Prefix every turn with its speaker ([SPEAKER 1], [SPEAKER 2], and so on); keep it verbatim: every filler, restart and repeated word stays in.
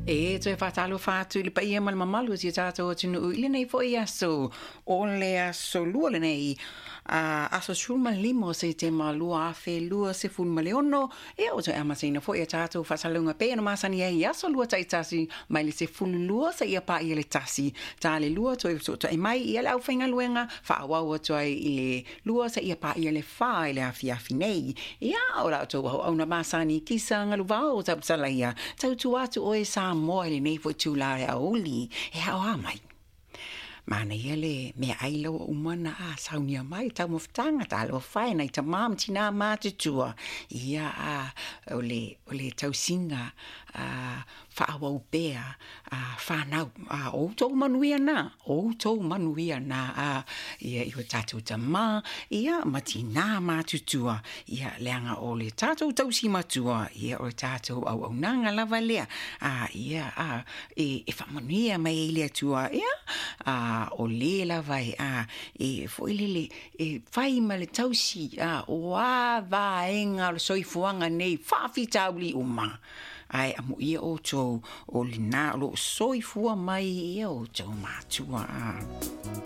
[SPEAKER 1] E toe faatalofa atu i le paia ma le mamalu o si o tatou atunuu i lenei fo'i aso o le aso lua lenei a aso sefulu ma le lima o Setema lua afe lua sefulu ma le ono. Ia ua toe amataina fo'i a tatou faasalalauga pei ona masani ai i aso lua taitasi mai le sefulu lua seia paia le tasi ta le lua toe fesootai mai ia le aufaigaluega faaauau atu ai i le lua seia paia le fa i le afiafi nei. Ia o la outou auauna masani Kisa Galuvao tausalaia tautua atu oe Samoa i lenei fo'i itulā o le aoauli e aoā mai. Manaia le meaai la ua uma ona a saunia mai taumafataga talofa e nai tamā ma tinā matutua. Ia a o le o le tausiga a faaauau pea a fanau a o outou manuia na o outou manuia na a ia i o tatou tamā ia ma tinā matutua. Ia leaga o le tatou tausi matua ia o le tatou auaunaga lava lea a ia a e, e faamanuia mai ai le Atua ia a o lē lava e a e foi lele e fai ma le tausi a o a vaega o le soifuaga nei faafitauli uma ae amuia outou o lenā o loo soifua mai ia outou matua a.